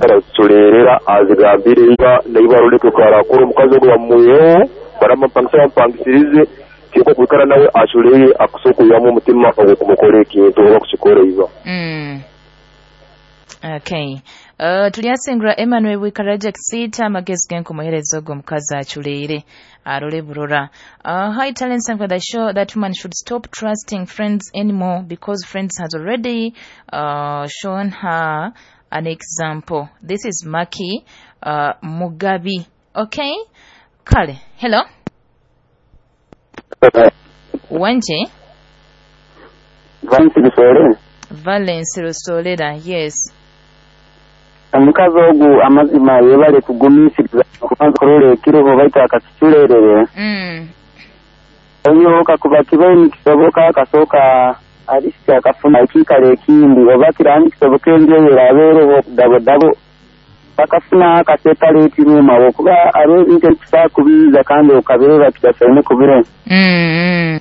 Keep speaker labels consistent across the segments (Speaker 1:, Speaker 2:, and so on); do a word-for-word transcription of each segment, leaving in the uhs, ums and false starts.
Speaker 1: Araziculerera azigambire iba naiba arole karakora omukazi ogu bamwiheho baramupangisa bamupangisirize kyonka okwikara nawe aculeire akusobola okwihamu omutima ogw'okumukora ekintu oba kukikora iba.
Speaker 2: Mm. Okay. Uh, tulyasingura Emmanuel Bwikaraja Kisiita amagezi genkumuhereza ogwo omukazi aculeire arole burora. Uh, hi talents and for the show that woman should stop trusting friends anymore because friends has already uh, shown her an example. This is Maki uh, Mugabi. Okay? Kale. Hello. Wanje
Speaker 3: Valence Rusole
Speaker 2: Valence Rusolera. Yes.
Speaker 3: omukazi ogu amazima yebale kugumiisiriza okubanza kurora ekiroho baitu akakiculerere
Speaker 2: Mm.
Speaker 3: oyo kakuba kibaire nikisoboka akasooka alisiki akafuna ekiikaro ekindi oba kiraba nikisoboka enju eyo eraabeereho dabodabo bakafuna akaseparate room awo kuba hariho ebintu ebikusobola kubiiza kandi okabireeba kitasaine kubire
Speaker 2: Mm.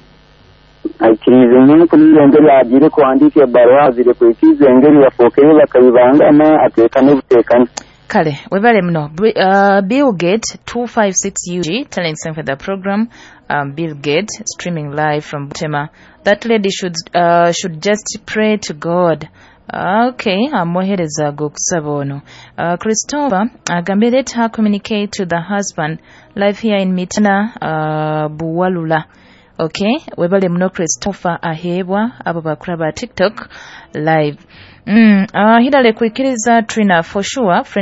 Speaker 3: aikiriize nyenkuniire engeri agiire kuhandiika ebbaruha azire kwikiriza engeri bafookere bakaibangana ateekane buteekane
Speaker 2: Kale, webale muno. Bri- Uh, Bill Gate two five six U G, talent for the program. Um, Bill Gate streaming live from Butema. That lady should uh, should just pray to God. Okay, amuhereza gokusaba ono. Uh, Christopher agambye let her communicate to the husband live here in Mitana uh, Buwalula. Okay, webale muno Christopher aheebwa abo bakulaba TikTok live. Mm, uh, Hilale kuikiriza Trina for sure friend